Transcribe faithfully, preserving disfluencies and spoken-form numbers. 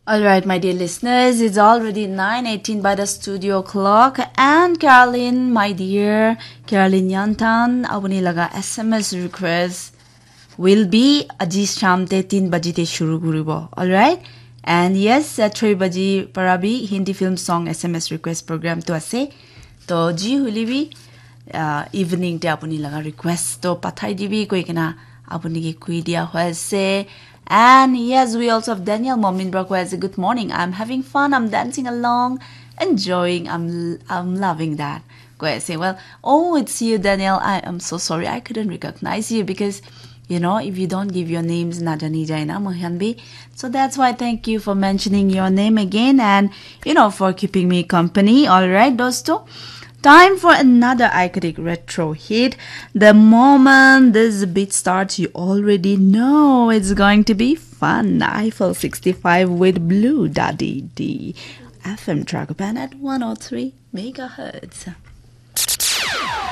All right, my dear listeners, it's already nine eighteen by the studio clock, and Carolyn, my dear Carolyn Yantan, apuni laga S M S request will be aji sham te tin baji te shuru kuribo. All right, and yes, uh, three baji para bi Hindi film song S M S request program tu ase. To ji huli bi uh, evening te apuni laga request to pathai dibi koi kena apuni ke kui dia hoi ase. And yes, we also have Daniel Momin Bra koi ase, "Good morning. I'm having fun. I'm dancing along, enjoying. I'm I'm loving that." Koi ase, "Well, oh, it's you, Daniel. I am so sorry. I couldn't recognize you because, you know, if you don't give your names, najani jai na, mohan bi. So that's why thank you for mentioning your name again and, you know, for keeping me company. All right, dosto. Time for another iconic retro hit. The moment this beat starts, you already know it's going to be fun. Eiffel sixty-five with Blue Daddy D. F M Tragopan at one oh three megahertz.